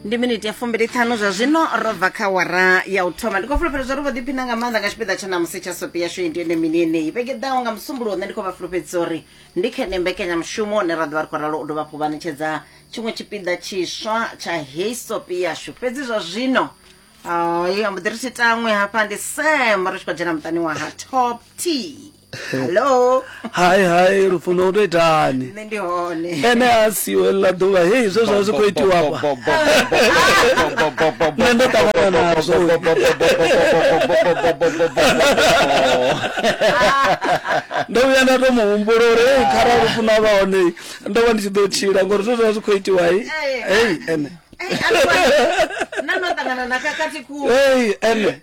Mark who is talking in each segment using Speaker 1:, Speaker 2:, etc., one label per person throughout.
Speaker 1: Ndi miniti ya 25 zwa zwino ro bva kha wara ya u thoma. Ndi khou fulufhela zwa uri vho ḓiphina nga maanḓa nga tshipiḓa tsha ṋamusi tsha sopi yashu iyi ndi yone mini yeneyi. Vhege ḓaho nga Musumbuluwo nṋe ndi khou vha fulufhedzisa uri ndi kha ene mbekanyamushumo une ra ḓo vha ri khou ralo u dovha hafhu vha ṋetshedza tshiṅwe tshipiḓa tshiswa tsha heyi sopi yashu. Fhedzi zwa zwino hai ambo ḓi ri tshi taṅwe hafha ndi Sam ri tshi khou dzhena muṱani wa ha Top T. Hello.
Speaker 2: Hai hai lufuno u to itani?
Speaker 1: Nṋe ndi hone.
Speaker 2: Ene a siho ḽa ḓuvha hei zwe zwa zwi khou itiwa afha. Nṋe ndo ṱangana nazwo. Ndo vhuya nda to muhumbula uri hei kharali lufuno a vha hone ndo vha ndi tshi ḓo tshila ngori zwe zwa zwi khou itiwa hei hei ene.
Speaker 1: Na no ṱangana na khakhathi khulu.
Speaker 2: Hei ene.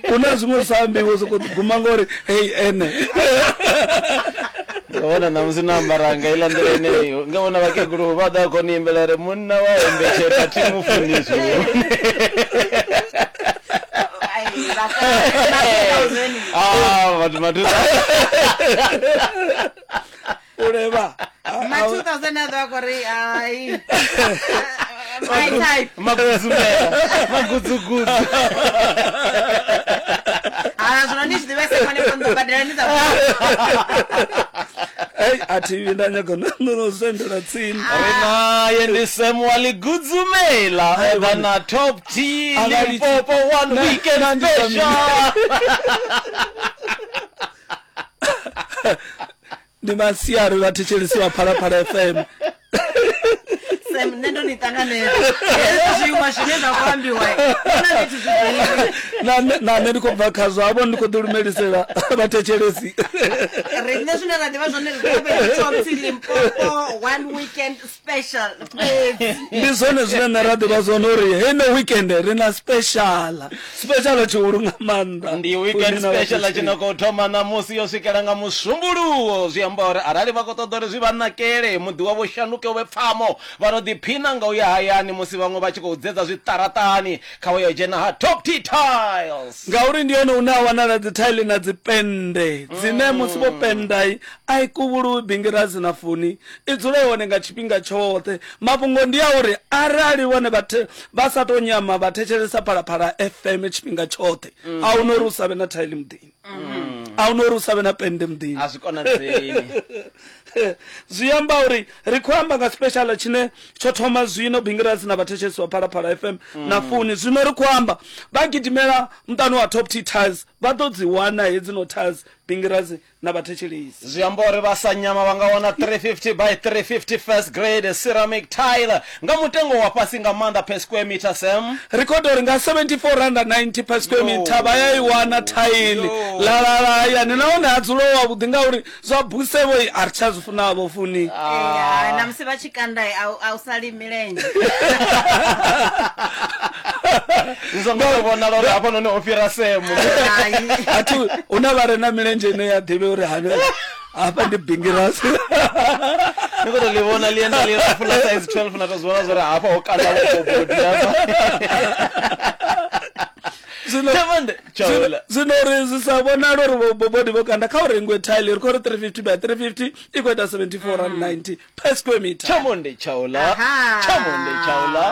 Speaker 2: Hu na zwiṅwe zwi sa ambiwi soko guma ngori hei ene.
Speaker 3: Nga vhona ṋamusi no ambara nga iḽa nḓila ineyo nga vhona vhakegulu vha ḓa khou ni imbela ri munna wa hembetshela thi mu funi zwone. Ah, vhathu mathusa
Speaker 2: U levha.
Speaker 1: Ma 2000 a ḓo a khou ri hai. My type.
Speaker 3: Magudzumela, magudzugudzu.
Speaker 1: Ha zwino ni zwi ḓivhese khone fo ndo badela ni sa.
Speaker 2: Hey, a thi vhi nda nyaga no sendela tsini.
Speaker 3: Ri naye ndi Sam wa Ligudzumela oda na Top T Limpopo one weekend special.
Speaker 2: Ndi masiari vhathetshelesi vha Phalaphala FM.
Speaker 1: Sam nṋe ndo ni ṱanganedza. Hezwi zwiṅwe zwine zwa khou ambiwa na zwithu zwi ḓivhi.
Speaker 2: Na nṋe na nṋe ndi khou bva khazwo havho ndi khou ḓi lumelisela vhathetshelesi.
Speaker 1: Riṋe zwine ra ḓivha zwone ri ḓivha fhedzi Top T Limpopo one weekend special fhedzi.
Speaker 2: Ndi zwone zwine nṋe ra ḓivha zwone uri heino weekend ri na special. Special tshihulu nga maanḓa.
Speaker 3: Ndi weekend special tshi no khou thoma ṋamusi yo swikela nga Musumbuluwo. Zwi amba uri arali vha khou ṱoḓa uri zwi vha nakele, muḓi wavho shanduke u vhe pfamo, vha no ḓiphina nga u ya hayani musi vhaṅwe vha tshi khou dzedza zwiṱaraṱani, kha vha yo dzhena ha Top T Tiles.
Speaker 2: Ngauri ndi hone hune ha wanala dzithaili na dzipennde dzine musi vho pennda a i kuvhuluwi bingirazi na funi, i dzula i hone nga tshifhinga tshoṱhe. Mafhungo ndi a uri arali vhone vha vha sa tou nyama vha thetshelesa Phalaphala FM tshifhinga tshoṱhe, a hu na uri u sa vhe na thaili muḓini, a hu na uri u sa vhe na pennde muḓini.
Speaker 3: A zwi konadzei.
Speaker 2: Zwi amba uri ri khou amba nga special tshine tsho thoma zwino Bingirasi na vhathetshelesi vha Phalaphala FM na funi. Zwino ri khou amba vha gidimela muṱani wa Top T Tiles vha ḓo dzi wana hedzino tiles Bingirasi na vhathetshelesi.
Speaker 3: Zwi amba uri vha sa nyama vha nga wana 350 by 350 first grade ceramic tile nga mutengo wa fhasi nga maanḓa per square meter, Sam.
Speaker 2: Ri khou ita uri nga R74.90 per square meter vha ya i wana thaili la lala hayani nahone ha dzula hu havhuḓi ngauri zwa busevho a ri tsha zwi funa-vho funi.
Speaker 1: Ee, na musi vha tshi kanda a u sali milenzhe.
Speaker 3: Zwi songo tou vhonala uri hafhanoni ho fhira Sam.
Speaker 1: Hai.
Speaker 2: A thi hu na vha re na milenzhe ine ya ḓivhe uri hani hafha ndi bingirasi.
Speaker 3: Ni khou tou ḽi vhona ḽienda ḽilapfu ḽa size 12 na tou zwi vhona zwa uri hafha ho kanda vhobobodi hafha.
Speaker 2: Zwino
Speaker 3: Tshavhande, tshaula.
Speaker 2: zwino uri zwi sa vhonale uri vhobobodi vho kanda kha u rengwe tile ri khou ri 350 by 350 i khou ita R74.90 per square meter.
Speaker 3: Tshamonde tshaula.
Speaker 1: Aha.
Speaker 3: Tshamonde tshaula.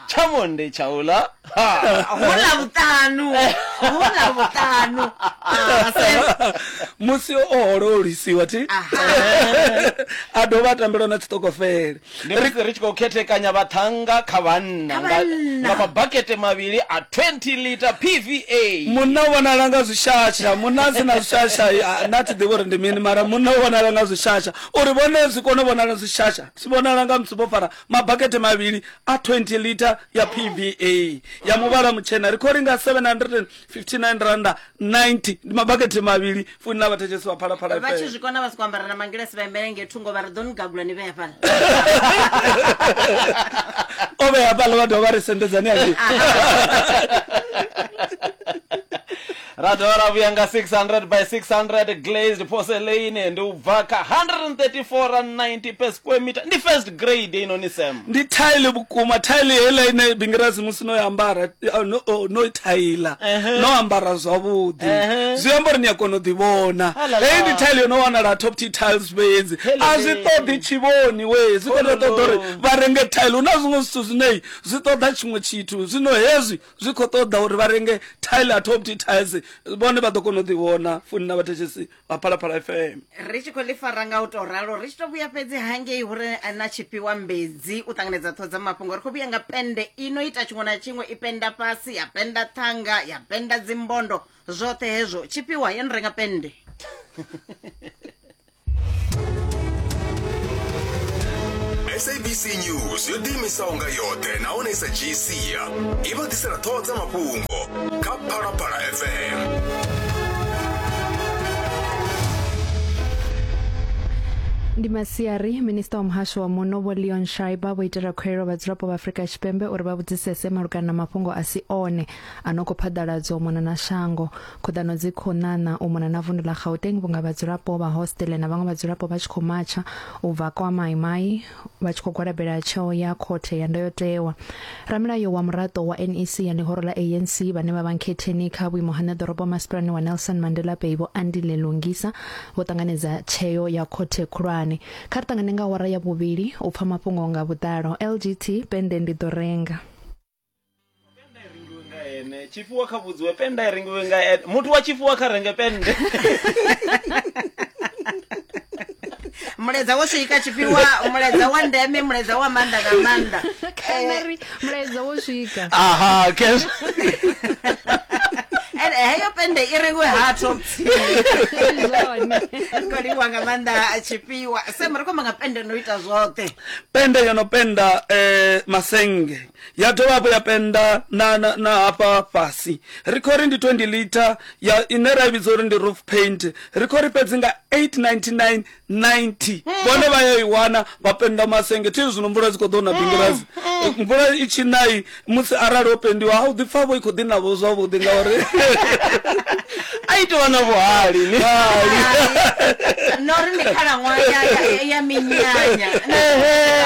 Speaker 3: Tshamonde tshaula. Ha.
Speaker 1: Hu Ḽavhuṱanu. Hu Ḽavhuṱanu. Ah, Sam.
Speaker 2: Musi o hololisiwa thi
Speaker 1: Aha.
Speaker 2: a dovha a tambelwa na tshiṱokofele.
Speaker 3: Ndi musi ri tshi khou khethekanya vhaṱhannga kha vhanna
Speaker 1: Kha
Speaker 3: nga,
Speaker 1: vhanna.
Speaker 3: nga mabakete mavhili a 20 liter PVA.
Speaker 2: Munna u vhonala nga zwishasha, munna a si na zwishasha a- nṋe a thi ḓivhi uri ndi mini mara munna u vhonala nga zwishasha. Uri vhone zwi kone u vhonala zwishasha zwi vhonala nga musi vho fara mabakete mavhili a 20 liter ya PVA ya muvhala mutshena. Ri khou ri nga R759 90 ndi mabakete mavhili funi na vhathetshelesi vha Phalaphala
Speaker 1: Vha tshi
Speaker 2: FM.
Speaker 1: zwi kona vha soko ambara na mangilasi vha imele ngei thungo vha ri ḓo ni gagula ni vhea fhaḽa.
Speaker 2: O vhea fhaḽa vha dovha vha ri sendedzani hangei.
Speaker 3: Ra dovha ra vhuya nga 600 by 600 glazed porcelain, ndi u bva kha 134 rand 90 per square meter. Ndi first grade heinoni Sam.
Speaker 2: Ndi thaile vhukuma, thaile heiḽa ine Bingirazi musi no i ambara, no, oh, no i thaila, no ambara zwavhuḓi, zwi amba uri ni a kona u ḓivhona. Heyi ndi thaile yo no wanala ha Top T Tiles fhedzi, a zwi ṱoḓi tshivhoni we, zwi khou tou ṱoḓa uri vha renge thaile. Hu na zwiṅwe zwithu zwine zwi ṱoḓa tshiṅwe tshithu, zwino hezwi zwi khou ṱoḓa uri vha renge thaile ha Top T Tiles, vhone vha ḓo kona u ḓivhona. Funi na vhathetshelesi vha Phalaphala FM.
Speaker 1: Ri tshi khou ḽi fara nga u tou ralo, ri tshi tou vhuya fhedzi hangei hu re na tshifhiwa mbedzi u ṱanganedza ṱhoho dza mafhungo. Ri khou vhuya nga pennde i no ita tshiṅwe na tshiṅwe, i pennda fhasi, ya pennda ṱhanga, ya pennda dzimbondo, zwoṱhe hezwo. Tshifhiwa ya no renga pennde.
Speaker 4: SABC News yo ḓiimisaho nga yoṱhe nahone i sa dzhii sia i vha ḓisela ṱhoho dza mafhungo kha Phalaphala FM.
Speaker 5: Ndi masiari, Minisiṱa wa Muhasho wa Muno Vho Leon Schreiber vho itela khuwelelo vhadzulapo vha Afrika Tshipembe uri vha vhudzisese malugana na mafhungo a si one a no khou phaḓaladzwa u mona na shango. Khuḓano dzi khou ṋaṋa u mona na vundu ḽa Gauteng vhunga vhadzulapo vha hostele na vhaṅwe vhadzulapo vha tshi khou matsha u bva kwa Mai Mai vha tshi khou gwalabela tsheo ya khothe ya ndayotewa. Ramilayo wa muraḓo wa NEC ya ḽihoro ḽa ANC vhane vha vha nkhetheni kha vhuimo ha ṋeḓorobo masipalani wa Nelson Mandela Bay Vho Andile Lungisa vho ṱanganedza tsheo ya khothe khulwane. Kha ri ṱangane nga awara ya vhuvhili u pfa mafhungo nga vhuḓalo. LGT, Pennde ndi ḓo renga.
Speaker 3: Pennde i rengiwe nga ene tshifhiwa kha vhudziwe pennde i rengiwe nga ene muthu wa tshifhiwa kha renge pennde
Speaker 1: mulaedza wo swika tshifhiwa mulaedza wa ndeme mulaedza wa maanḓa nga maanḓa
Speaker 5: Canary mulaedza wo swika
Speaker 3: aha kes
Speaker 1: Ene heyo pennde i rengiwe ha top
Speaker 5: Zwone.
Speaker 1: ri khou livhuwa nga maanḓa tshifhiwa sam ri khou amba nga pennde no ita zwoṱhe
Speaker 2: Pennde yo no pennda masennge ya dovha hafhu ya pennda na, na, na hafha fhasi. Ri khou ri ndi 20 litha ya ine ra i vhidza uri ndi roof paint. Ri khou ri fhedzi nga 899.90 vhone vha ya i wana vha pennda masenge. Thi zwino mvula dzi khou ḓo na bingirazi, mvula i tshi na musi arali ho pendiwa ha u ḓi pfa vho i khou ḓi navho zwavhuḓi ngauri
Speaker 3: a i tovha na vhuhali ni.
Speaker 1: No ri ndi khalaṅwaha ya, ya, ya minyanya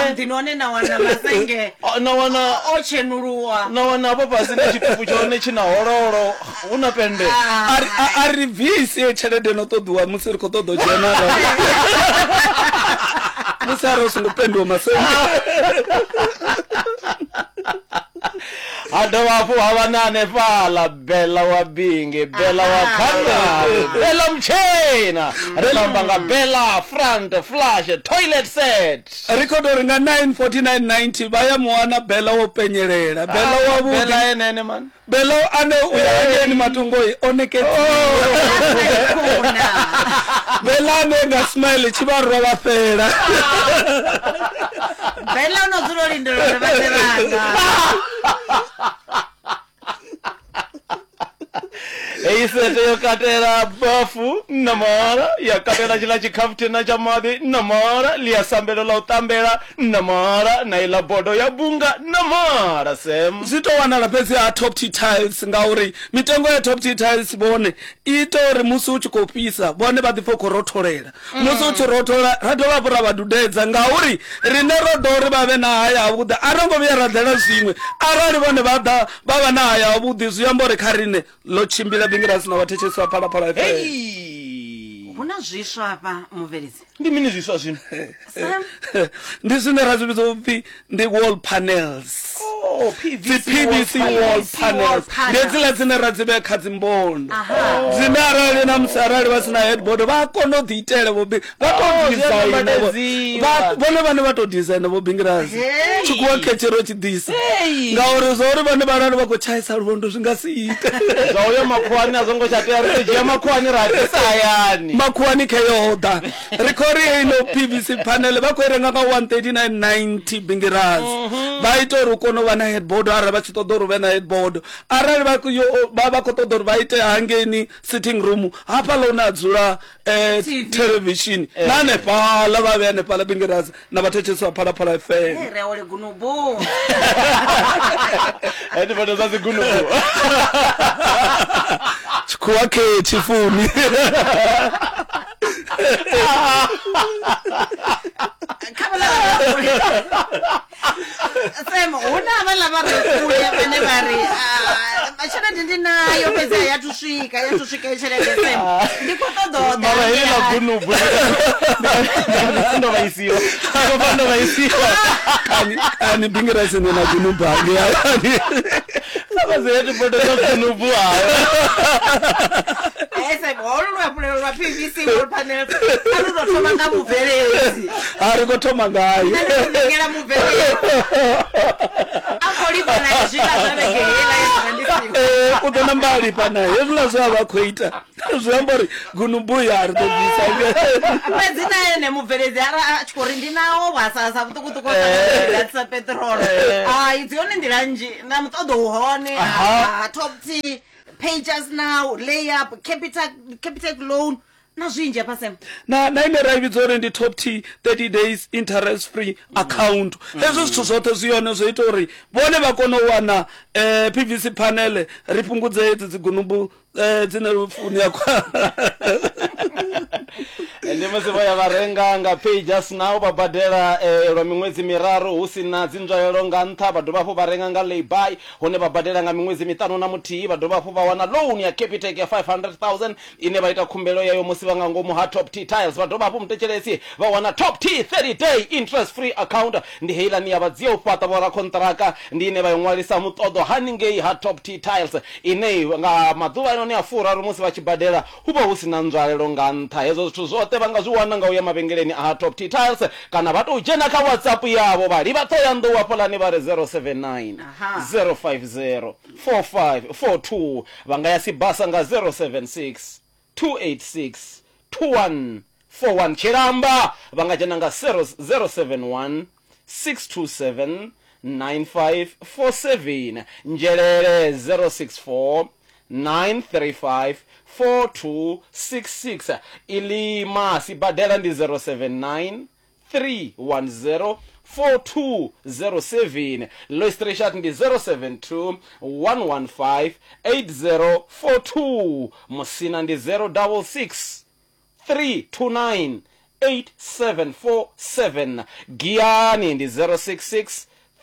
Speaker 1: muḓini hone na wana masenge
Speaker 3: O, na wana
Speaker 1: o tshenuluwa
Speaker 3: na wana hafho fhasi na tshitupu tshone tshi na hololo hu na pennde.
Speaker 2: A ri- a- a ri bvisi heyo tshelede no ṱoḓiwa musi ri khou ṱoḓa u dzhena musi arali u songo pendiwa masenge.
Speaker 3: Ha dovha hafhu ha vha na hanefhaḽa Bella wa Bingi, Bella wa Khanari, Bella Mutshena. Ri khou amba nga Bella front flush toilet set.
Speaker 2: Ri khou tou ri nga 949.90 vha ya mu wana Bella wo penyelela, Bella wa vhuḓi.
Speaker 3: Bella ene ene man.
Speaker 2: Bella ane u ya hangeini matongoi o nekedziwa. Bella ane nga smile tshi vha rwa vha fhela.
Speaker 1: Bella o no dzula o lindela uri vha ḓe vhanga.
Speaker 3: Heyi sete yo katela bafu na mahala, ya katela tshiḽa tshikhafuthina tsha maḓi na mahala, ḽia sambelo ḽa u ṱambela na mahala, na iḽa bodo ya bunga na mahala. Sam.
Speaker 2: Zwi tou wanala fhedzi ha Top T Tiles ngauri mitengo ya Top T Tiles vhone i ita uri musi hu tshi khou fhisa vhone vha ḓipfe u khou rotholela. Musi hu tshi rothola ra dovha hafhu ra vha dudedza ngauri riṋe ro ḓo uri vha vhe na haya havhuḓi. A ro ngo vhuya ra ḓela zwiṅwe, arali vhone vha ḓa vha vha na haya havhuḓi zwi amba uri kha riṋe ḽo tshimbila Bingirasi na vhathetshelesi vha Phalaphala FM.
Speaker 3: Hei!
Speaker 1: Hu na zwiswa hafha mubveledzi.
Speaker 3: Ndi mini zwiswa zwino?
Speaker 1: Sam?
Speaker 2: Ndi zwine ra zwi vhidza upfi ndi wall panels.
Speaker 3: Oh,
Speaker 2: Dzi
Speaker 3: PVC wall
Speaker 2: PVC wall
Speaker 3: panels.
Speaker 2: panels ndi hedziḽa dzine ra dzi vhea kha dzimbondo dzine arali na musi arali vha sina headboard vha a kona u ḓi itela vho vha tou
Speaker 3: Oh, zwi a
Speaker 2: designer vho-
Speaker 3: nambatedziwa.
Speaker 2: vhone vhane vha tou designer vho Bingirazi
Speaker 1: Hey.
Speaker 2: tshikhuwa khetshero tshi ḓisa
Speaker 3: Hey.
Speaker 2: ngauri zwa uri vhone vha vha khou tshaisa luvhondo zwi nga si ite
Speaker 3: Zwa uyo makhuwani a zwo ngo tsha tea, ri ḓo dzhia makhuwani ra ḓisa hayani.
Speaker 2: Makhuwani kheyo ḓa ri khou ri heino PVC panel vha khou i renga nga 139.90 Bingirazi vha ita uri u kone u vha na headboard arali vha tshi ṱoḓa uri u vhe na headboard arali vha khou yo- vha vha khou ṱoḓa uri vha ite hangeini sitting room hafhaḽa hune ha dzula
Speaker 1: TV.
Speaker 2: television na hanefhaḽa vha vhe hanefhaḽa Bingirazi na vhathetshelesi vha Phalaphala FM.
Speaker 1: Hey, ri a wele gunubu.
Speaker 3: Headboard dza dzigunubu.
Speaker 2: Khuwa khetshi funi.
Speaker 1: Kha vhaḽa vha Sam, hu na havhaḽa vha re kule vhane vha ri "Ah, tshelede ndi nayo fhedzi a ya thu swika ya thu swika i tshelede Sam ndi khou ṱoḓa u ḓa
Speaker 3: Mara heḽi ḽa
Speaker 1: ngei."
Speaker 3: gunubu ndo vhaisiwa ndo pfa ndo vhaisiwa
Speaker 2: Kani kani bingirasi ni na gunubangi yani.
Speaker 3: vhazetu bodo dza gunubu hayo
Speaker 1: Eh, Sam, holu luhafhulelo lwa PVC wall panel a lu tou thoma nga mubveledzi
Speaker 2: A ri khou thoma ngayo.
Speaker 1: Nṋe ndi khou ṋengela mubveledzi a khou lifha na zwiḽa zwa vhege heiḽa ye nda ndi siho.
Speaker 2: Eh, u ḓo namba a lifha naye hezwiḽa zwe a vha khou ita zwi amba uri gunubu ya ri ḓo bvisa
Speaker 1: fhedzi na ene mubveledzi ara a tshi khou ri ndi nawo vhasasa vhuṱukuṱuku sa peṱirolo hai dzi hone nḓila nnzhi na muṱoḓo u hone ha top t pages now layup capital capitec loan na zwinzhi hafha sem
Speaker 2: na na ine ra i vhidza uri ndi top t 30 days interest free account hezwo zwithu zwoṱhe zwi yone zwo ita uri vhone vha kone u wana um pvc panel ri fhungudze hedzi dzigunubu um dzine funi ya kwa
Speaker 3: ndi musi vho ya vha renga nga pay just now vha badela eh, lwa miṅwedzi miraru hu si na dzinzwalelo nga nṱha vha dovha hafhu vha renga nga layby hune vha badela nga miṅwedzi miṱanu na muthihi vha dovha hafhu vha wana loan ya capitec ya 500 000 ine vha ita khumbelo yayo musi vha nga ngomu ha top t tiles vha dovha hafhu muthetshelesi vha wana top t 30 day interest free account ndi heiḽani ya vha dzia u fhaṱa vho rakhonṱiraka ndi ine vha i ṅwalisa muṱoḓo haningei ha top t tiles ine nga maḓuvha anoni a furaru musi vha tshi badela hu vha hu si na nzwalelo nga nṱha hezwo zwithu zwoṱhe vha nga zwi wana nga u ya mavhengeleni a ha top t tiles kana vha tou dzhena kha whatsapp yavho vha livha ṱhohoyanḓou hafhaḽani vha ri 079
Speaker 1: Aha.
Speaker 3: 050 4542 vha nga ya sibasa nga 076 286 2141 tshilamba vha nga dzhena nga 071 627 9547 nzhelele 064 935 4266 ilima sibadela ndi 079 310 4207 Louis Richard ndi 072 115 8042 Musina ndi 066 329 8747 Giyani ndi 066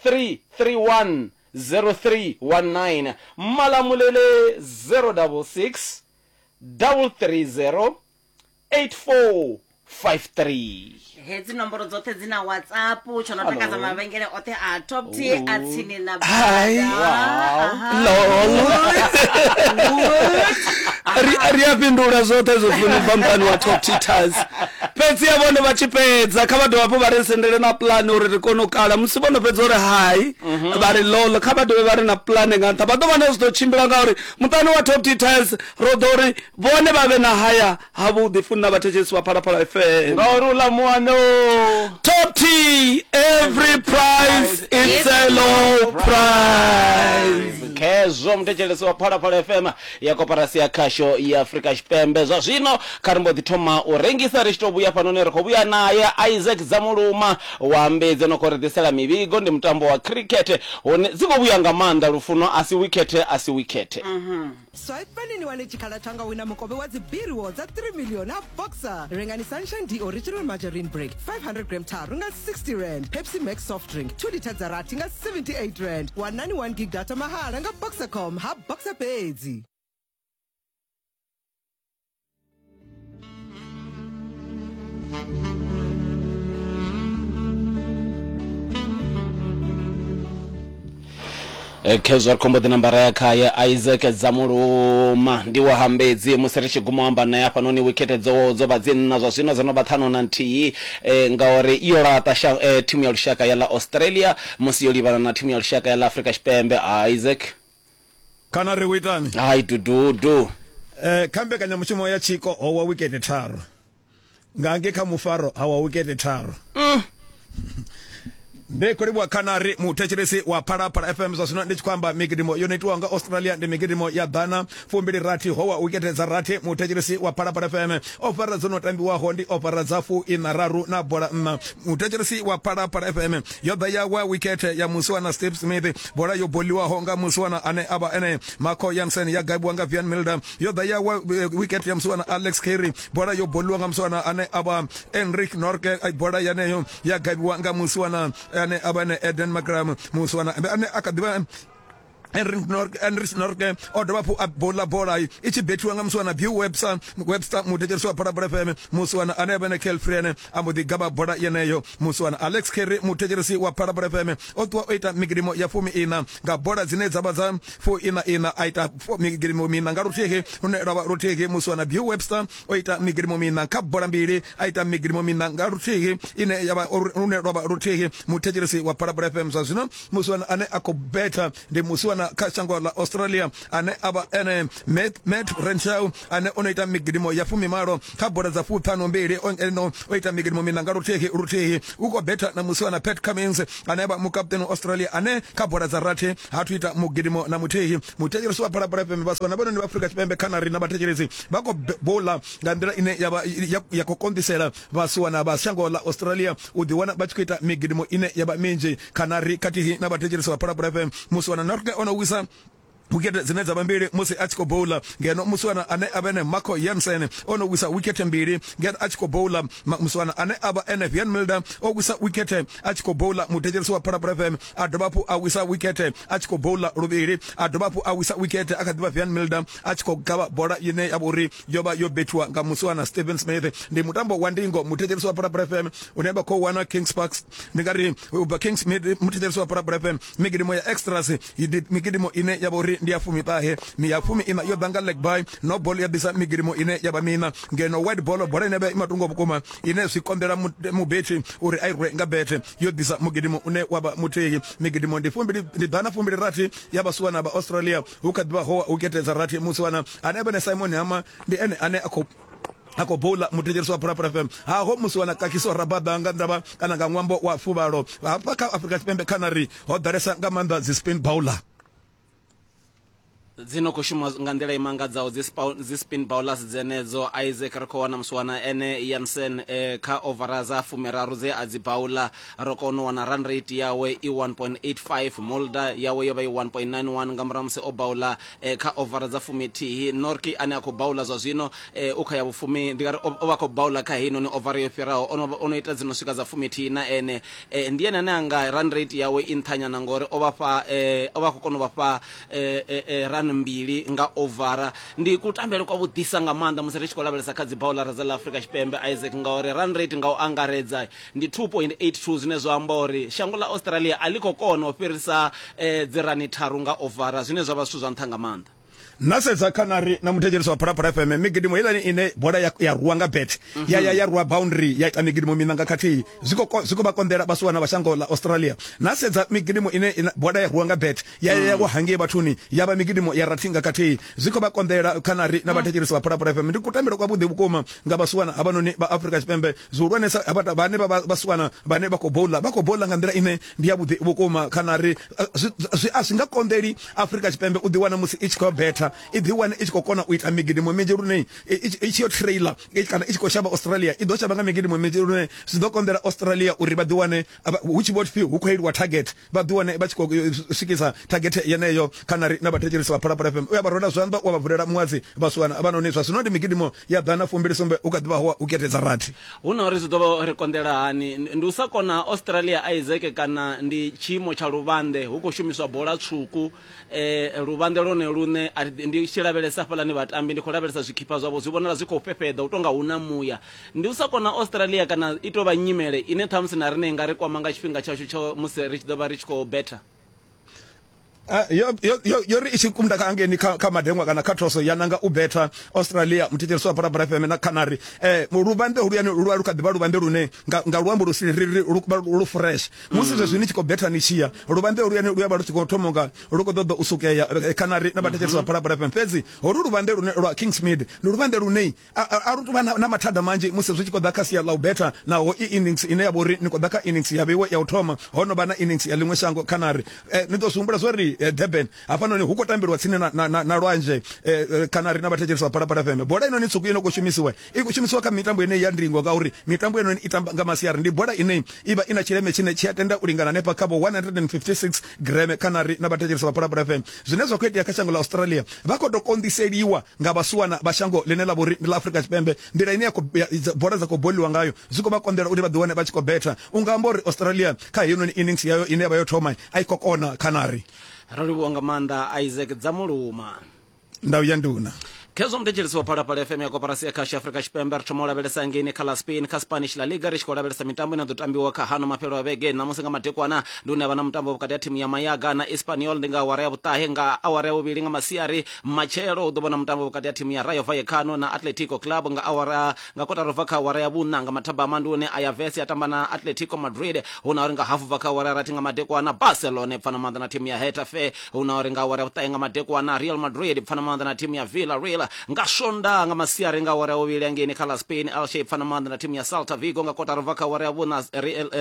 Speaker 3: 331 0319 Malamulele 066 330 8453
Speaker 1: hedzi nomboro dzoṱhe dzi na whatsapp tsho no takadza mavhengele oṱhe a top t a tsini na
Speaker 2: Hai.
Speaker 1: Aha.
Speaker 2: lol ri ri a fhindula zwoṱhe zwo funi bva muṱani wa top titas fhedzi ya vhone vha tshi fhedza kha vha dovha hafhu vha ri sendele na pulane uri ri kone u kala musi vho no fhedza uri hai vha ri lol kha vha dovhe vha ri na pulane nga nṱha vha ḓo vha na zwi ḓo tshimbila ngauri muṱani wa top titas ro ḓo uri vhone vha vhe na haya havhuḓi funi na vhathetshelesi vha phalaphala fm
Speaker 3: ngauri uḽa muano
Speaker 2: top t every price it's a low price
Speaker 3: khezwo muthetshelesi wa phalaphala fm ya koporasi ya khasho ya afrika tshipembe zwa zwino kha ri mbo ḓi thoma u rengisa ri tshi tou vhuya fhanoni ri khou vhuya naye isaac dzamuluma wa mbedzi no khou ri ḓisela mivhigo ndi mutambo wa cricket hune dzi khou vhuya nga maanḓa lufuno a si wikhethe a si wikhethe
Speaker 6: Swipani ni wane tshikhala tsha nga wina mukovhe wa dzibiriwo dza 3 million ha Boxer. Rengani Sunshine D Original Margarine Break 500 gram tharu nga 60 rand, Pepsi Max soft drink 2 litha dza rathi nga 78 rand, wanani 1 gig data mahala nga Boxercom ha Boxer fhedzi.
Speaker 3: Khezwo ri khombo ḓi nambara ya khaye isaac dzamuluma ndi wa hambedzi musi ri tshi guma u amba naye hafhanoni wikhethe dzo dzo vha dzi nṋa zwa zwino dzo no vha ṱhanu na nthihi eh, ngauri yo laṱa sha- eh, thimu ya lushaka ya ḽa australia musi yo livhana na thimu ya lushaka ya ḽa afrika tshipembe isaac
Speaker 7: kana ri u itani
Speaker 3: hai dududu
Speaker 7: eh, kha mbekanyamushumo ya tshiko ho wa wikete tharu nga nge kha mufaro ha wa wikete tharu Ndi khou livhuwa Khanari, muthetshelesi wa Phalaphala FM. Zwa zwino ndi tshi khou amba migidimo yo no itiwaho nga Australia ndi migidimo ya ḓana fumbili rathi ho wa wikete dza rathi. Muthetshelesi wa Phalaphala FM, ofara dzo no tambiwaho ndi ofara dza fu ina raru na bola nṋa. Muthetshelesi wa Phalaphala FM, yo ḓa ya wa wikete ya musiwana Steve Smith, bola yo boliwaho nga musiwana ane a vha ene Marco Jansen ya gavhiwa nga Vian Milder. Yo ḓa ya wa wikete ya musiwana Alex Carey, bola yo boliwa nga musiwana ane a vha Enrique Norke, bola yeneyo ya gavhiwa nga musiwana ane a vha ene Eden Makram. Musiwana ane a kha ḓivha Enrich Norke o dovha hafhu a bola bola i tshi bethiwa nga musiwana Bill Webster, Webster muthetshelesi wa Phalaphala FM. Musiwana ane a vha ene Kel Friene a mbo ḓi gavha bola yeneyo. Musiwana Alex Carey muthetshelesi wa Phalaphala FM o ṱuwa o ita migidimo ya fumi ina nga bola dzine dza vha dza fu ina ina, a ita migidimo mina nga luthihi lune lwa vha luthihi. Musiwana Bill Webster o ita migidimo mina kha bola mbili, a ita migidimo mina nga luthihi ine ya vha lune lwa vha luthihi. Muthetshelesi wa Phalaphala FM, zwa zwino musiwana ane a khou betha ndi musiwana kha shango ḽa Australia ane a vha ene Matt, Matt Renshaw ane o no ita migidimo ya fumimalo kha bola dza fuṱhanu mbili, o o ita migidimo mina nga luthihi luthihi. U khou betha na musiwana Pat Cummins ane a vha mukaputeni wa Australia ane kha bola dza rathi ha thu ita mugidimo na muthihi. Muthetshelesi wa Phalaphala FM, vhasiwana vhone ndi vha Afrika Tshipembe kha na rina vhathetshelesi vha khou bola nga nḓila ine ya vha ya, ya khou konḓisela vhasiwana vha shango ḽa Australia u ḓiwana vha tshi khou ita migidimo ine ya vha minzhi. Khanari khathihi na vhathetshelesi vha Phalaphala FM, musiwana Norke o no wisa wikete dzine dza vha mbili musi a tshi khou bowla, ngeno musiwana ane a vha ene Marco Jansen o no wisa wikete mbili ngeno a tshi khou bowla. Musiwana ane a vha ene Vian Milder o wisa wikete a tshi khou bowla. Muthetshelesi wa Phalaphala FM a dovha hafhu a wisa wikete a tshi khou bowla luvhili, a dovha hafhu a wisa wikete a kha ḓivha Vian Milder a tshi khou gavha bola ine ya vha uri yo vha yo bethiwa nga musiwana Steven Smith. Ndi mutambo wa ndingo, muthetshelesi wa Phalaphala FM, une vha khou wana Kings Park, ndi nga ri ubva Kings muthetshelesi wa Phalaphala FM. Migidimo ya extras ndi migidimo ine ya vha uri ndi ya fumiṱahe, ya fumi ina yo ḓa nga leg bye, no ball ya ḓisa migidimo ine ya vha mina, ngeno white ball, bola ine ya vha i matungo vhukuma ine zwi konḓela mubethi uri a i rwe nga bethe, yo ḓisa mugidimo une wa vha muthihi. Migidimo ndi fumbili ndi ḓana fumbili rathi ya vhasiwana vha Australia, hu kha ḓivha ho wikete dza rathi. Musiwana ane a vha ne Simon Hama ndi ene ane a khou a khou boula. Muthetshelesi wa Phalaphala FM, haho musiwana Kagiso Rabada nga ndavha kana nga ṅwambo wa fuvhalo. Hafha kha Afrika Tshipembe khanari ho ḓalesa nga maanḓa dzi spin bowler
Speaker 3: dzi no khou shuma nga nḓila i mangadzaho, dzi spin bowlers dzenedzo. Isaac, ri khou wana musiwana ene Jansen kha ovara dza fumiraru dze a dzi bowla, ro kona u wana run rate yawe i 1.85, Mulder yawe yo vha i 1.91 nga murahu musi o bowla kha ovara dza fumithihi. Norki ane a khou bowla zwa zwino u kha ya vhufumi, ndi nga ri o vha khou bowla kha heinoni ovara yo fhiraho, o no ita dzi no swika dza fumithihi na ene ndi ene ane anga run rate yawe i nṱhanyana ngori o vha fha o vha khou kona u vha fha run mbili nga ovara. Ndi kutambele kwa vhuḓisa nga maanḓa musi ri tshi khou lavhelesa kha dzi bowlara dza ḽa Afrika Tshipembe, Isaac, ngauri run rate nga u angaredza ndi 2.82, zwine zwa amba uri shango ḽa Australia a ḽi khou kona u fhirisa dzi rani tharu nga ovara, zwine zwa vha zwithu zwa nṱha nga maanḓa.
Speaker 7: Na sedza khanari na muthetshelesi wa Phalaphala FM, migidimo heiḽani ine bola ya, ya rwa nga bet ya ya ya rwa boundary ya ita migidimo miṋa nga khathihi, zwi khou zwi khou vha konḓela vhasiwana vha shango ḽa Australia. Na sedza migidimo ine ina, bola ya rwa nga bet ya ya ya wa hangei vhathuni ya vha migidimo ya rathi nga khathihi, zwi khou vha konḓela khanari na vhathetshelesi vha Phalaphala FM. Ndi kutambele kwavhuḓi vhukuma nga vhasiwana havhanoni vha Afrika Tshipembe, zwihulwanesa havha vhane vha vha vhasiwana vhane vha khou bowla, vha khou bowla nga nḓila ine ndi ya vhuḓi vhukuma khanari. Zwi, zwi a zwi nga konḓeli Afrika Tshipembe u ḓiwana musi i tshi khou betha i ḓiwane i tshi khou kona u ita migidimo minzhi lune i tshi yo trailer kana i tshi khou shavha Australia i ḓo shavha nga migidimo minzhi lune zwi ḓo konḓela Australia uri vha ḓiwane hu tshi vho pfi hu khou iliwa target, vha ḓiwane vha tshi khou swikisa target yeneyo. Kana ri na vhathetshelesi vha Phalaphala FM, u ya vha rwela zwanḓa wa vha vulela muṅwadzi vhasiwana havhanoni. Zwa zwino ndi migidimo ya ḓana fumbili sumbe, hu kha ḓivha ho u ketedza rathi.
Speaker 3: Hu na uri zwi ḓo vha ri konḓela hani? Ndi u sa kona ha Australia, Isaac, kana ndi tshiimo tsha luvhanḓe? Hu khou shumiswa bola tswuku, luvhanḓe lwone luṋe a ri, ndi tshi lavhelesa hafhaḽani vhatambi, ndi khou lavhelesa zwikhipha zwavho, zwi vhonala zwi khou fhefheḓa u tou nga hu na muya. Ndi u sa kona ha Australia kana i tou vha nyimele ine ṱhamusi na riṋe i nga ri kwama nga tshifhinga tshashu tsha musi ri tshi ḓo vha ri tshi khou betha?
Speaker 7: Ah, yo yo yo yo ri i tshi kunda kha angeni kha kha madengwa kana kha thoso ya nanga u betha Australia muthetshelesi wa Phalaphala FM na Canary eh luvhanḓe holuyani lu vha lu kha ḓivha luvhanḓe lune nga nga luambo lu si ri ri lu vha lu fresh musi zwezwi ni tshi khou betha ni tshiya luvhanḓe holuyani lu ya vha lu tshi khou thoma unga lu khou ṱoḓa u sukea eh, Canary na vhathetshelesi vha Phalaphala FM fhedzi holu luvhanḓe lune lwa Kingsmead ndi luvhanḓe lune a lu tuvha na mathada manzhi musi zwi tshi khou ḓa kha sia ḽa u betha naho i innings ine ya vha uri ni khou ḓa kha innings ya vheiwe ya u thoma ho no vha na innings ya ḽiṅwe shango Canary eh, ni ḓo zwi humbula zwo ri eh, Durban hafhanoni hu khou tambelwa tsini na, na, na, na lwanzhe eh, eh Canary na vhathetshelesi vha Phalaphala FM bola inoni tswuku ino khou shumisiwa i khou shumisiwa kha mitambo ine ya ndingo ngauri mitambo inoni i tamba nga masiari ndi bola ine i vha i na tshileme tshine tshi a tenda u lingana hanefha kha vho 156 gram Canary na vhathetshelesi vha Phalaphala FM zwine zwa khou itea kha shango ḽa Australia vha khou tou konḓiseliwa nga vhasiwana vha shango ḽine ḽa vha uri ndi ḽa Afrika Tshipembe nḓila ine ya khou bola dza khou boliwa ngayo zwi khou vha konḓela uri vha ḓiwane vha tshi khou betha u nga amba uri Australia kha heinoni innings yayo ine ya vha yo thoma a i khou kona Canary.
Speaker 3: Ro livhuwa nga maanḓa Isaac Dzamuluma.
Speaker 7: Ndau ya nduna.
Speaker 3: Khezwo muthetshelesi wa Phalaphala FM ya koporasi ya khasho ya Afrika Tshipembe ri thoma u lavhelesa ngeini kha ḽa Spain kha Spanish La Liga ri tshi khou lavhelesa mitambo ine ya ḓo tambiwa kha hano mafhelo a vhege ṋamusi nga madekwana ndi hune ha vha na mutambo vhukati ha thimu ya Mayaga na Espanyol ndi nga awara ya vhuṱahe nga awara ya vhuvhili nga masiari Matshelo hu ḓo vha na mutambo vhukati ha thimu ya Rayo Vallecano na Atletico Club nga awara nga kotara ubva kha awara ya vhuṋa nga mathabama ndi hune Ayaves ya tamba na Atletico Madrid hu na uri nga hafu bva kha awara ya rathi nga madekwana Barcelona pfana maanḓa na thimu ya Getafe hu na uri nga awara ya vhuṱahe nga madekwana Real Madrid pfana maanḓa na thimu ya Villarreal nga Swondaha nga masiari nga awara ya vhuvhili hangeini kha ḽa Spain Elche pfana maanḓa na thimu ya Celta Vigo nga kotara ubva kha awara ya vhuṋa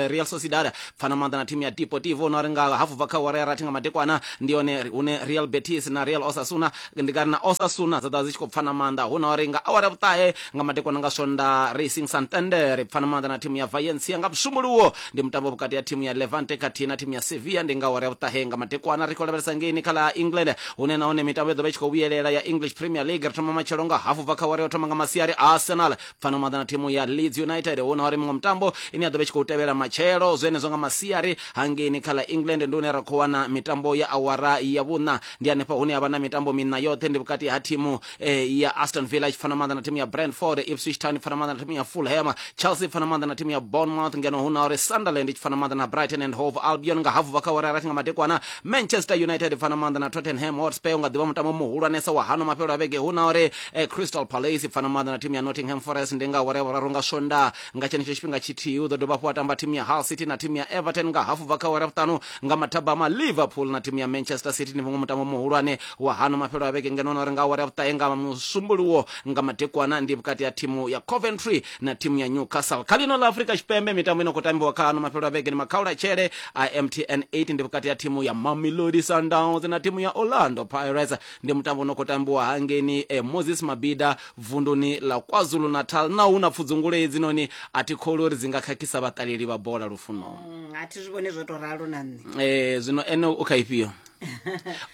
Speaker 3: Real Sociedad pfana maanḓa na thimu ya Deportivo na uri nga hafu bva kha awara ya rathi nga madekwana ndi yone hune Real Betis na Real Osasuna ndi nga ri na Osasuna dza ḓa dzi tshi khou pfana maanḓa hu na uri nga awara ya vhuṱahe nga madekwana nga Swonda Racing Santander pfana maanḓa na thimu ya Valencia nga Musumbuluwo ndi mutambo vhukati ha thimu ya Levante khathihi na thimu ya Sevilla ndi nga awara ya vhuṱahe nga madekwana ri khou lavhelesa ngeini kha ḽa England hune nahone mitambo ya ḓo vha i tshi khou vhuyelela ya English Premier League ri thoma matshelo nga hafu bva kha awara ya u thoma nga masiari Arsenal pfano maḓa na thimu ya Leeds United hu na uri muṅwe mutambo ine ya ḓo vha i tshi khou tevhela matshelo zwenezwo nga masiari hangeini kha ḽa England ndi hune ra khou wana mitambo ya awara ya vhuṋa ndi hanefha hune ha vha na mitambo miṋa yoṱhe ndi vhukati ha thimu eh, ya Aston Villa i tshi pfana maanḓa na thimu ya Brentford Ipswich Town i pfana maanḓa na thimu ya Fulham Chelsea i pfana maanḓa na thimu ya Bournemouth ngeno hu na uri Sunderland i tshi pfana maanḓa na Brighton and Hove Albion nga hafu bva kha awara ya rathi nga madekwana Manchester United i pfana maanḓa na Tottenham Hotspur u nga ḓivha mutambo muhulwanesa wa hano mafhelo a vhege hu na uri eh, Crystal Palace pfana maanḓa na thimu ya Nottingham Forest ndi nga awara ya vhuraru nga Swondaha nga tshenetsho tshifhinga tshithihi hu ḓo dovha hafhu wa tamba thimu ya Hull City na thimu ya Everton nga hafu bva kha awara ya vhuṱanu nga mathabama Liverpool na thimu ya Manchester City ndi muṅwe mutambo muhulwane wa hano mafhelo a vhege ngeno na uri nga awara ya vhuṱahe nga musumbuluwo nga madekwana ndi vhukati ha thimu ya Coventry na thimu ya Newcastle kha ḽino ḽa Afrika Tshipembe mitambo ino khou tambiwa kha hano mafhelo a vhege ndi makhaulatshele a MTN 8 ndi vhukati ha thimu ya Mamelodi Sundowns na thimu ya Orlando Pirates Ndi mutambo u no khou tambiwa hangeini eh, Moses Mabhida vunduni ḽa KwaZulu-Natal. Na hu na pfudzungule hedzinoni a thi kholwi uri dzi nga khakhisa vhaṱaleli vha bola lufuno.
Speaker 1: Mm, a thi zwi vhoni zwo to ralo na nṋe.
Speaker 3: Eh, zwino ene u kha ifhio?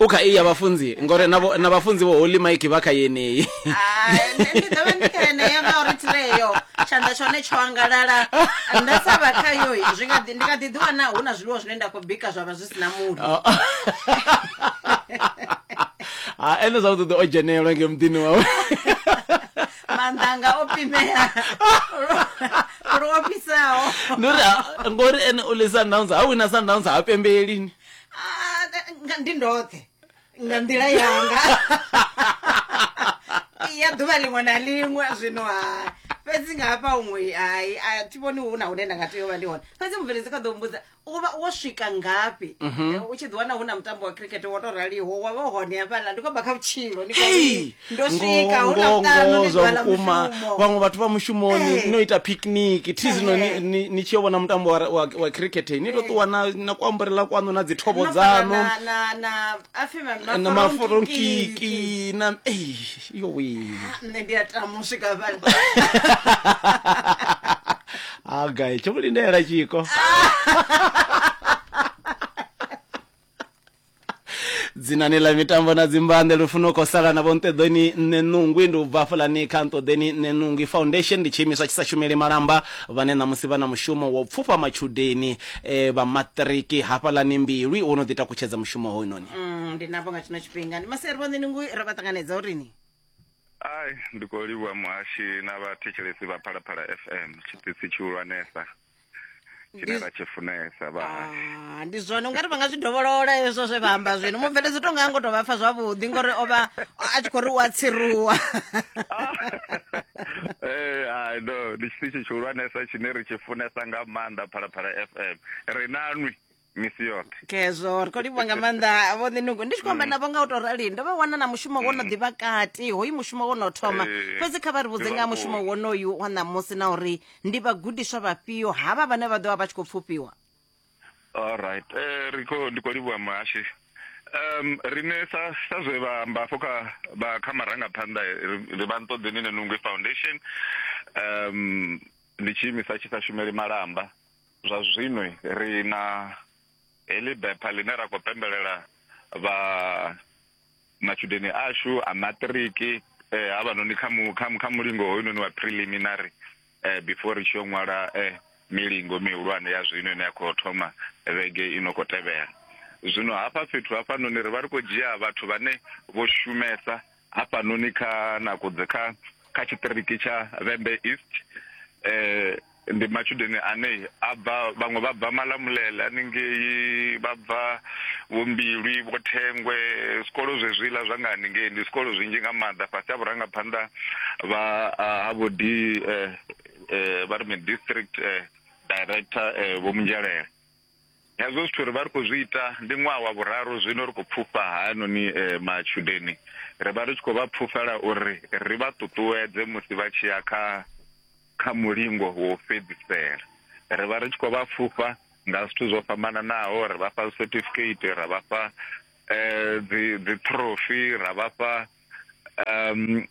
Speaker 3: U kha iyi ya vhafunzi ngori na vho- na vhafunzi vho Holy Mike vha kha yeneyi.
Speaker 1: Ah, nṋe ndi ḓo vha ndi kha yeneyo ngauri thireyo tshanḓa tshone tsho angalala nda sa vha khayo zwi nga ḓi ndi nga ḓi ḓiwana hu na zwiḽiwa zwine nda khou bika zwa vha zwi si na muṋo.
Speaker 3: Ha ene zwavhuḓi o dzhenelwa nge muḓini wawe.
Speaker 1: Maanḓa anga o pimea lu ofhisaho.
Speaker 3: Ndi uri ngori ene u ḽi Sundowns ha wina Sundowns ha pembeli.
Speaker 1: Ah, ndi ndoṱhe nga nḓila yanga ya ḓuvha ḽiṅwe na ḽiṅwe zwino ha fhedzi nga hafha huṅwe hai a thi vhoni hu na hune nda nga tea u vha ndi hone fhedzi mubveledzi kha ḓo mbudza u vha wo swika ngafhi mm -hmm. u tshi ḓiwana hu na mutambo wa cricket wo to raliho wa vha hone hafhaḽa ndi khou bva kha vhutshilo ndi
Speaker 3: hey!
Speaker 1: ndo swika hu na vhuṱanu ndi ḓuvha ḽa
Speaker 3: vhukuma vhaṅwe vhathu vha mushumoni hey. no ita picnic thi zwino ni, ni, ni tshi yo vhona mutambo wa, wa, wa cricket ni to ṱuwa na, na kuamburela kwaṋu na dzithobo dzaṋu
Speaker 1: na, na, na, afi
Speaker 3: na maforonkiki na ei yowe
Speaker 1: nṋe ndi a tama u swika hafhaḽa
Speaker 3: ha gai tsho lindela tshiko dzinani ḽa mitambo na dzimbanḓe lufuno khou sala na vhonṱeḓoni nṋe nungwi ndi u bva hafhaḽani kha nṱoḓeni nṋe nungwi foundation ndi tshiimiswa tshi sa shumeli malamba vhane ṋamusi vha na mushumo wa u pfufha matshudeni eh, vha maṱiriki hafhaḽani mbilwi wo no ḓi takutshedza mushumo hoyunoni
Speaker 1: mm, ndi navho nga tshino tshifhinga ndi masiari vho nṋe nungwi ro vha ṱanganedza urini
Speaker 8: Ai, ndi khou livhuwa muhashi na vhathetshelesi vha Phalaphala FM, tshiṱitshi tshihulwanesa. Tshine ra tshi funesa vhahashu.
Speaker 1: Ah, ndi zwone ungari vha nga zwi dovholola hezwo zwe vha amba zwino mubveledzi to nga ngo to vha pfa zwavhuḓi ngori o vha a tshi khou ri u a tsiruwa.
Speaker 8: Eh, hai no, ndi tshiṱitshi tshihulwanesa tshine ri tshi funesa nga maanḓa Phalaphala FM. Ri na nwi misi yoṱhe.
Speaker 1: Khezwo ri khou livhuwa nga maanḓa vho Ṋinungu. Ndi tshi khou amba navho nga u tou rali ndo vha wana na mushumo wo no ḓivha kati hoyu mushumo wo no thoma.
Speaker 8: Eh,
Speaker 1: Fhedzi kha vha ri vhudze
Speaker 8: ndi
Speaker 1: nga ha mushumo
Speaker 8: vhukuma.
Speaker 1: wonoyu wa ṋamusi na uri ndi vhagudiswa vhafhio havha vhane vha ḓo vha vha tshi khou pfufhiwa.
Speaker 8: Alright. Eh ri khou ndi khou livhuwa muhashi. Rine sa sa zwe vha amba afho kha vha kha marangaphanḓa ri vha Nṱoḓeni Nenungwi Foundation. Ndi tshiimiswa tshi sa shumeli malamba. Zwa zwino ri na heḽi bepha ḽine ra khou pembelela vha matshudeni ashu a maṱiriki eh, havhanoni kha mu, kha, kha mulingo hoyunoni wa preliminary eh, before ri tshi yo ṅwala eh, milingo mihulwane ya zwino ine ya khou thoma vhege ino khou tevhela. Zwino hafha fhethu hafhanoni ri vha ri khou dzhia vhathu vhane vho shumesa hafhanoni kha nakudze kha kha tshiṱiriki tsha Vhembe East eh, ndi matshudeni ane a bva vhaṅwe vha bva Malamulele haningei vha bva vho Mbilwi vho Thengwe zwikolo zwezwiḽa zwa nga haningei ndi zwikolo zwinzhi nga maanḓa fhasi ha vhurangaphanḓa vha ha vho D eh, eh, vha ri mini district eh, director eh, vho Munzhelele. Hezwo zwithu ri vha ri khou zwi ita ndi ṅwaha wa vhuraru zwino ri khou pfufha hayanoni eh, matshudeni ri vha ri tshi khou vha pfufhela uri ri vha ṱuṱuwedze musi vha tshi ya kha kha mulingo wa u fhedzisela. Ri vha ri tshi khou vha pfufha nga zwithu zwo fhambananaho, ri vha fha certificate, ra vha fha eh, dzi dzi trophy, ra vha fha um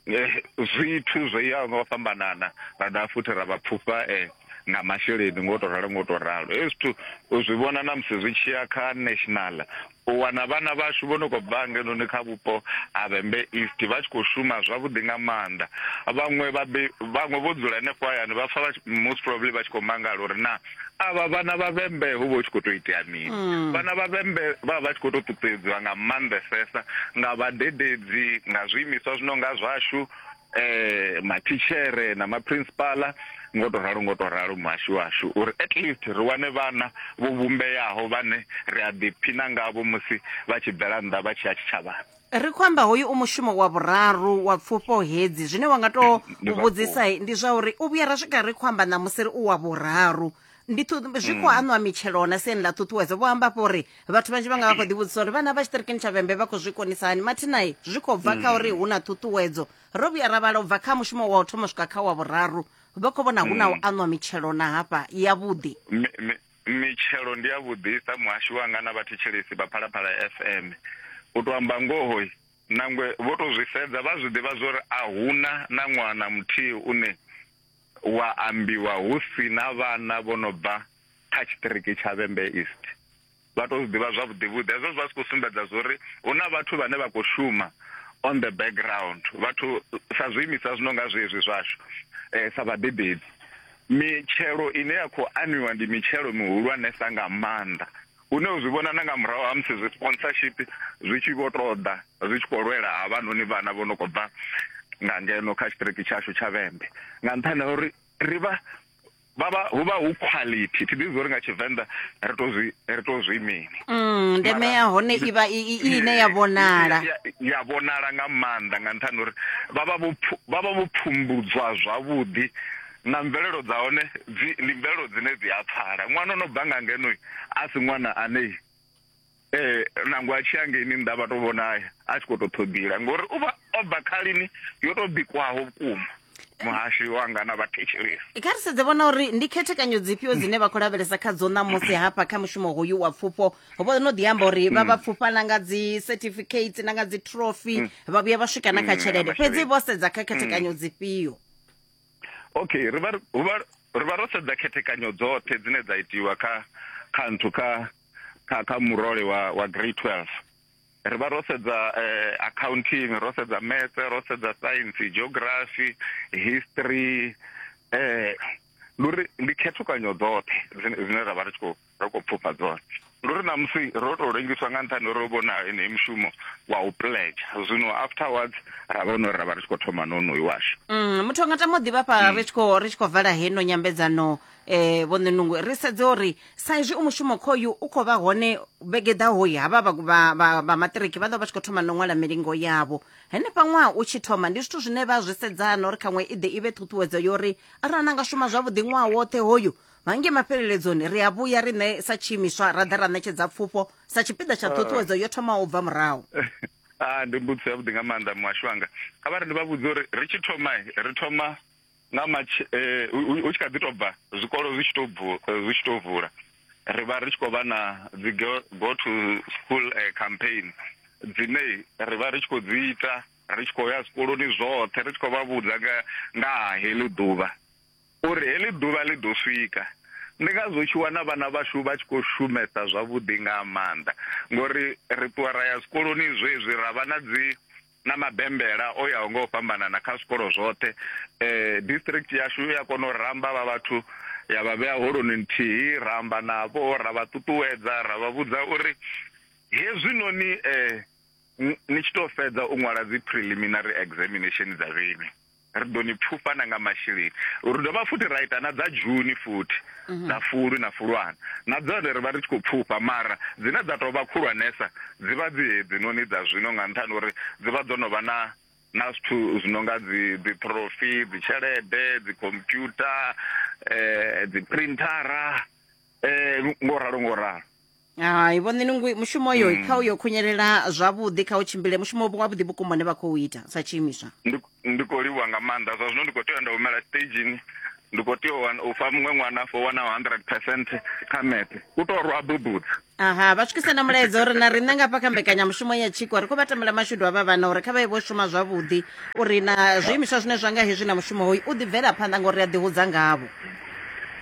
Speaker 8: zwithu zwo yaho nga u fhambanana, ra dovha futhi ra vha pfufha eh, nga masheleni ngo to ralo ngo to ralo. Hezwi zwithu u zwi vhona na musi zwi tshi ya kha national, u wana vhana vhashu vho no khou bva ngenoni kha vhupo ha Vhembe East vha tshi khou shuma zwavhuḓi nga maanḓa. Vhaṅwe vhabe vhaṅwe vho dzula henefho hayani vha pfa most probably vha tshi khou mangala uri na avha vhana vha Vhembe hu vha hu tshi khou tou itea mini. Vhana vha Vhembe vha vha vha tshi khou tou ṱuṱuwedziwa nga maanḓesesa nga vhadededzi, nga zwiimiswa zwi no nga zwashu, eh mathitshere na maprinsipala ngo to ralo ngo to ralo muhashi washu uri at least ri wane vhana vho vhumbeaho vhane ri a ḓiphina ngavho musi vha tshi bvela nnḓa vha tshi ya tshitshavhani.
Speaker 1: Ri khou amba hoyu u mushumo wa vhuraru wa pfufho hedzi. Zwine wa nga to
Speaker 8: Ndi zwa
Speaker 1: vhudzisa
Speaker 8: vhukuma.
Speaker 1: ndi zwa uri u vhuya ra swika ri khou amba ṋamusi ri u wa vhuraru ndi zwi khou aṋwa mitshelo na siani ḽa ṱhuṱhuwedzo. Vho amba afho uri vhathu vhanzhi vha nga vha khou ḓivhudzisa uri vhana vha tshiṱirikini tsha Vhembe vha khou zwi konisa hani. Mathina zwi khou bva kha uri hu na ṱhuṱhuwedzo. Ro vhuya ra vhala u bva kha mushumo wa u thoma u swika kha wa vhuraru, vha khou vhona hu na u aṋwa mitshelo na hafha yavhuḓi.
Speaker 8: Mi, mi, mitshelo ndi yavhuḓisa muhashi wanga na vhathetshelesi vha Phalaphala FM. U tou amba ngoho, nangwe vho tou zwi sedza vha zwi ḓivha zwa uri a huna na ṅwaha na muthihi une wa ambiwa hu si na vhana vho no bva kha tshiṱiriki tsha Vhembe East. Vha tou zwi ḓivha zwavhuḓi vhuḓi. Hezwo zwi vha zwi khou sumbedza zwa uri hu na vhathu vhane vha khou shuma on the background, vhathu sa zwiimiswa zwi no nga zwezwi zwashu eh, sa vhadededzi. Mitshelo ine ya khou anwiwa ndi mitshelo mihulwanesa nga maanḓa, hune u zwi vhona na nga murahu ha musi zwi sponsorship zwi tshi vho tou ḓa zwi tshi khou lwela havhanoni vhana vho no khou bva nga ngeno kha tshiṱiriki tshashu tsha Vhembe, nga nṱhani ha uri ri vha vha vha hu vha hu quality. Thi ḓivhi uri nga Tshivenḓa ri to zwi ri to zwi mini.
Speaker 1: Ndeme
Speaker 8: Mara
Speaker 1: ya hone i vha i i- ine ya vhonala.
Speaker 8: ya, ya vhonala nga maanḓa nga nṱhani uri vha vha vho pfu- vha vha vho pfumbudzwa zwavhuḓi na mvelelo dza hone dzi ndi mvelelo dzine dzi a pfala. Ṅwana o no bva nga ngeno a si ṅwana ane eh nangwe a tshi ya ngeini nnḓa vha to vhona a tshi khou tou ṱhoḓila ngori u vha o bva khalini yo tou bikwaho vhukuma. Muhashi wanga na vhathetshelesi.
Speaker 1: Kha ri sedze vhona uri ndi khethekanyo dzifhio dzine vha khou lavhelesa khadzo ṋamusi hafha kha mushumo hoyu wa pfufho. Vho no ḓi amba uri vha vha pfufha na nga dzi certificates na nga dzi trophy vha vhuya vha swika na kha
Speaker 8: Mm,
Speaker 1: tshelede,
Speaker 8: na
Speaker 1: fhedzi
Speaker 8: masheleni.
Speaker 1: vho sedza kha khethekanyo dzifhio?
Speaker 8: Okay, ri vha hu vha ri vha ro sedza khethekanyo dzoṱhe dzine dza itiwa kha kha nthu kha kha kha murole wa wa grade 12. Ri vha ro sedza eh, accounting, ro sedza maths, ro sedza science, geography, history, eh ndi uri ndi khethukanyo dzoṱhe dzine dzine ra vha ri tshi khou ri khou pfufha dzone. Ndi uri ṋamusi ro tou lengiswa nga nṱhani uri ro vhona heneyi mushumo wa u pledge, zwino afterwards ra vha uri ra vha ri tshi khou thoma na onoyu washu.
Speaker 1: Muthu anga tama u ḓivha fha ri tshi khou ri tshi khou vala heno nyambedzano. Vho Ṋenungwe, ri sedze uri sa izwi u mushumo khoyu u khou vha hone vhege ḓaho havha vha maṱiriki vha ḓo vha tshi khou thoma no ṅwala milingo yavho henefha ṅwaha u tshi thoma. Ndi zwithu zwine vha zwi sedzana uri khaṅwe i ḓe i vhe ṱhuṱhuwedzo yo uri arali na nga shuma zwavhuḓi ṅwaha woṱhe hoyu, hange mafheleledzoni ri a vhuya riṋe sa tshiimiswa ra ḓa ra ṋetshedza pfufho sa tshipiḓa tsha ṱhuṱhuwedzo yo thomaho u bva murahu.
Speaker 8: Ah, ndi mbudziso yavhuḓi nga maanḓa, muhasho wanga. Kha vha ri ndi vha vhudze uri ri tshi thoma, ri thoma nga matsh hu tshi kha ḓi tou bva zwikolo zwi tshi tou zwi tshi tou vula, ri vha ri tshi khou vha na dzi go to school campaign dzine ri vha ri tshi khou dzi ita, ri tshi khou ya zwikoloni zwoṱhe ri tshi khou vha vhudza nga nga ha heḽi ḓuvha uri heḽi ḓuvha ḽi ḓo swika. Ndi ngazwo u tshi wana vhana vhashu vha tshi khou shumesa zwavhuḓi nga maanḓa, ngori ri ṱuwa ra ya zwikoloni zwezwi ra vha na dzi na mabembela o yaho nga u fhambanana kha zwikolo zwoṱhe. District yashu ya kona u ramba vha vhathu ya vha vhea holoni nthihi, ra amba navho, ra vha ṱuṱuwedza, ra vha vhudza uri hezwinoni ni tshi tou fhedza u ṅwala dzi preliminary examination dza vheiwe, ri ḓo ni pfufha na nga masheleni. Ri dovha futhi ra ita na dza June futhi, dza Fulwi na Fulwana, na dzone ri vha ri tshi khou pfufha, mara dzine dza tou vha khulwanesa dzi vha dzi hedzinoni dza zwino, nga nṱhani uri dzi vha dzo no vha na na zwithu zwi no nga dzi dzi trophy, dzi tshelede, dzi computer, dzi printhara, ngo ralo ngo ralo.
Speaker 1: Hai vho Ṋinungwi, mushumo uyo kha uyo khunyelela zwavhuḓi, kha u tshimbile, mushumo wavhuḓi vhukuma une vha khou ita sa tshiimiswa.
Speaker 8: Ndi khou livhuwa nga maanḓa. Zwa zwino ndi khou tea nda humela stagini, ndi khou tea u fha muṅwe ṅwana fo wana 100% kha math, u tou rwa bubudza.
Speaker 1: Aha, vha swikise na mulaedza uri na riṋe nga fha kha mbekanyamushumo ya tshiko ri khou vha tambela mashudu avha vhana uri kha vha ye vho shuma zwavhuḓi, uri na zwiimiswa zwine zwa nga hezwi na mushumo hoyu u ḓi bvela phanḓa, ngori ri a ḓihudza ngavho.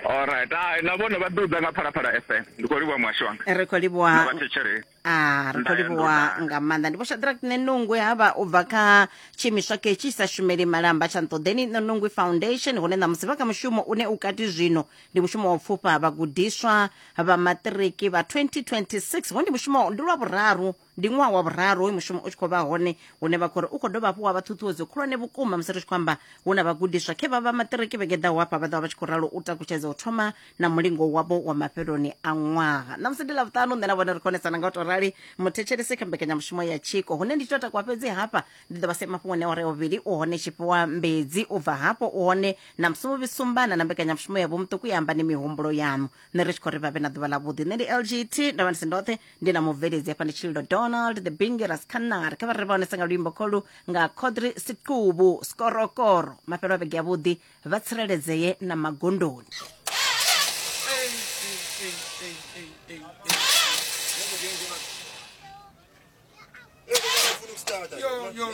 Speaker 8: Alright, hai na vhone vha ḓi nga Phalaphala FM. Ndi khou livhuwa muhasho wanga.
Speaker 1: Ri khou livhuwa.
Speaker 8: Na vhathetshelesi.
Speaker 1: Ah, ri khou livhuwa nga maanḓa. Ndi Vho Shadrack Nenungwe havha u bva kha tshiimiswa ketshi sa shumeli malamba tsha Nṱoḓeni Nenungwe Foundation, hune ṋamusi vha kha mushumo une u kati zwino ndi mushumo wa u pfufha vhagudiswa vha maṱiriki vha 2026. Ho ndi mushumo ndi lwa vhuraru, ndi ṅwaha wa vhuraru hoyu mushumo u tshi khou vha hone, hune vha khou ri u khou dovha hafhu wa vha ṱhuṱhuwedzo khulwane vhukuma musi ri tshi khou amba hu na vhagudiswa khe vha vha maṱiriki vhege ḓaho hafha vha ḓo vha vha tshi khou ralo u takutshedza u thoma na mulingo wavho wa mafheloni a ṅwaha. Ṋamusi ndi Ḽavhuṱanu, nṋe na vhone ri konesana nga u tou rali muthetshelesi kha mbekanyamushumo ya tshiko, hune ndi tshi tou takuwa fhedzi hafha ndi ḓo vha sia mafhungoni a awara ya vhuvhili. U hone Tshifhiwa Mbedzi, u bva hafho u hone na Musumuvhi Sumbana na mbekanyamushumo ya Vhomuṱuku ya Ambani Mihumbulo Yaṋu. Nṋe ri tshi khou ri vha vhe na ḓuvha ḽavhuḓi. Nṋe ndi LGT, ndo vha ndi si ndoṱhe, ndi na mubveledzi hafha ndi Tshililo Donald the Bingiras Khanar. Kha vha ri vha honesa nga luimbo kholu nga Khodri Siqubu Skorokoro. Mafhelo a vhege yavhuḓi, vha tsireledzee na magondoni.
Speaker 4: Yo, yo.